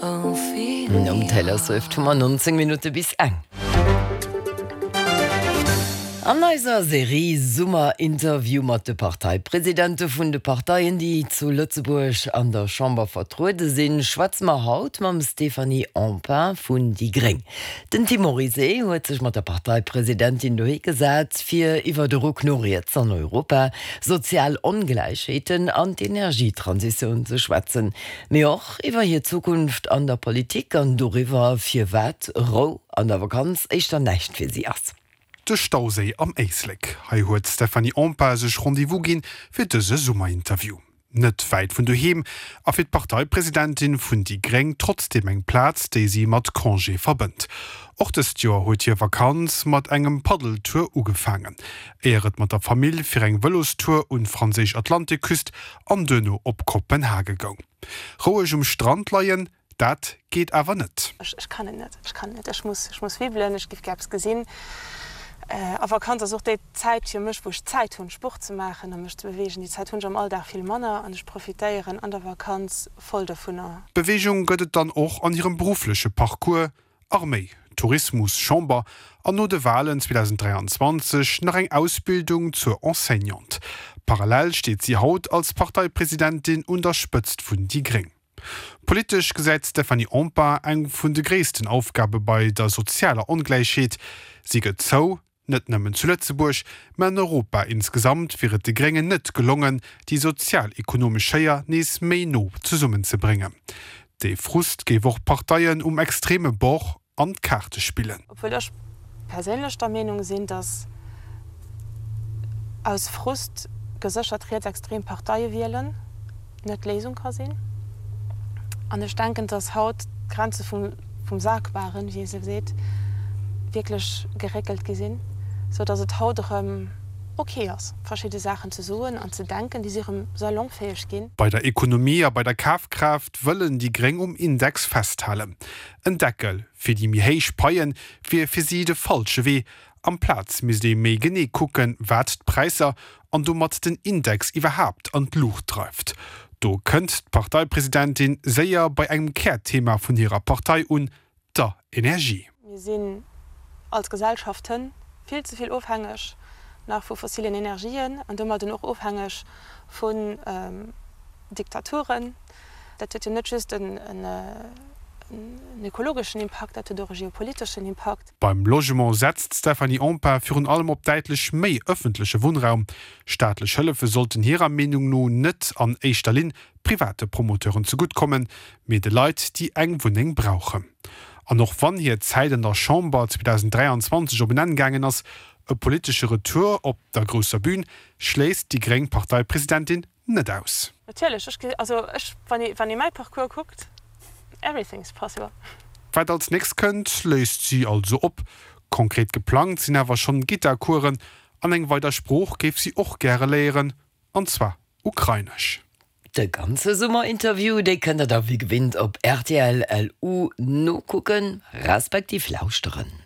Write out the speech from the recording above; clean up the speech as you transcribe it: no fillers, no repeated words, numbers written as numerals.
Nom Taylor Swift hu mer 19 Minutte bis eng. An eiser Serie Summerinterview mat de Parteipresidente vun de Parteien, déi zu Lëtzebuerg an der Chamber vertruede sinn, schwätze mer haut mam Stéphanie Empain vun déi gréng. Den Tim Morizet huet sech mat der Parteipresidentin dohi gesat, fir iwwer de Ruck no riets an Europa, sozial Ongläichheeten an d'Energietransitioun ze schwätzen, mee och iwwer hir Zukunft an der Politik an doriwwer, firwat Rou an der Vakanz éischter näischt fir si ass. De Stauséi am Éislek, hei huet d'Stéphanie Empain sech Rendez-vous ginn fir dëse Summerinterview. Net wäit vun doheem a fir d'Parteipresidentin vun déi gréng trotzdeem eng Plaz, déi si mat Congé verbënnt. Och dëst Joer huet hir Vakanz mat engem Paddeltour ugefaangen, éier et mat der Famill fir eng Vëlostour un d'franséisch Atlantikküst an duerno op Kopenhage goung. Roueg um Strand leien, Dat geet awer net. Ech kann et net, ech kann et net. Ech muss, ech muss wibbelen, ech giff gär eppes gesinn. A Vakanz ass och déi Zäit fir mech, wou ech Zäit hunn, Sport ze maachen a mech ze beweegen. Déi Zäit hunn ech am Alldag vill manner an ech profitéieren an der Vakanz voll dovunner. Beweegung gëtt et dann och an hirem beruffleche Parcours, Arméi, Tourismus, Chamber an no de Walen 2023 nach eng Ausbildung zur Enseignante. Parallel steet si haut als Parteipresidentin un der Spëtzt vun déi gréng. Politesch gesäit d'Stéphanie Empain eng vun de gréissten Aufgabe bei der sozialer Ongläichheet. Si gëtt zou, net nëmmen zu Lëtzebuerg, mä an Europa insgesamt wier et de Gréngen net gelongen, déi sozial-ekonomesch Schéier nees méi no zesummenzebréngen. Dee Frust géif och Parteien um extreme Bord an d'Kaarte spillen. Obwuel ech perséinlech der Meenung sinn, datt aus Frust geséchert rietsextrem Parteie wielen net d'Léisung ka sinn. An ech denken, datt haut d'Grenze vum Sagbaren, wéi ee sou seet, wierklech geréckelt gi sinn, sou datt et haut erëm ok ass, verschidde Saachen ze soen an ze denken, déi si erëm salonfäeg ginn. Bei der Ekonomie a bei der Kafkraaft wëllen déi Gréng um Index festhalen. En Deckel fir déi méi héich Paie wier fir si de falsche Wee. Amplaz misst ee méi genee kucken, wat d'Präisser an domat den Index iwwerhaapt an d'Luucht dreift. Do kënnt d'Parteipresidentin séier bei engem Kärthema vun hirer Partei un, der Energie. Mir sinn als Gesellschaften vill ze vill ofhängeg nach vu fossilen Energien an domadden och ofhängeg vun Diktaturen. Dat huet jo net just en ökologeschen Impakt, dat huet och e geopoliteschen Impakt. Beim Logement setzt d'Stéphanie Empain virun allem op däitlech méi ëffentleche Wunnraum. Staatlech Hëllefe sollten hirer Meenung no net an éischter Linn private Promoteuren zegutt kommen, mee de Leit, déi eng Wunneng brauchen. An och wann hir Zäit an der Chamber 2023 op en Enn gaangen ass, e politesche Retour op der grousser Bün schléisst déi gréng Parteipresidentin net aus. Natierlech, ech, also ech, wann ee, wann ee mäi Parcours kuckt, everything is possible. Wat als nächst kënnt, léisst si also op. Konkret geplangt sinn awer schonn Gittarcoursen an eng weider Sprooch géif si och gäre léieren, an zwar Ukrainesch. De ganze Summerinterview, dee kënnt der da wéi gewinnt op rtl LU nokucken, respektiv lauschteren.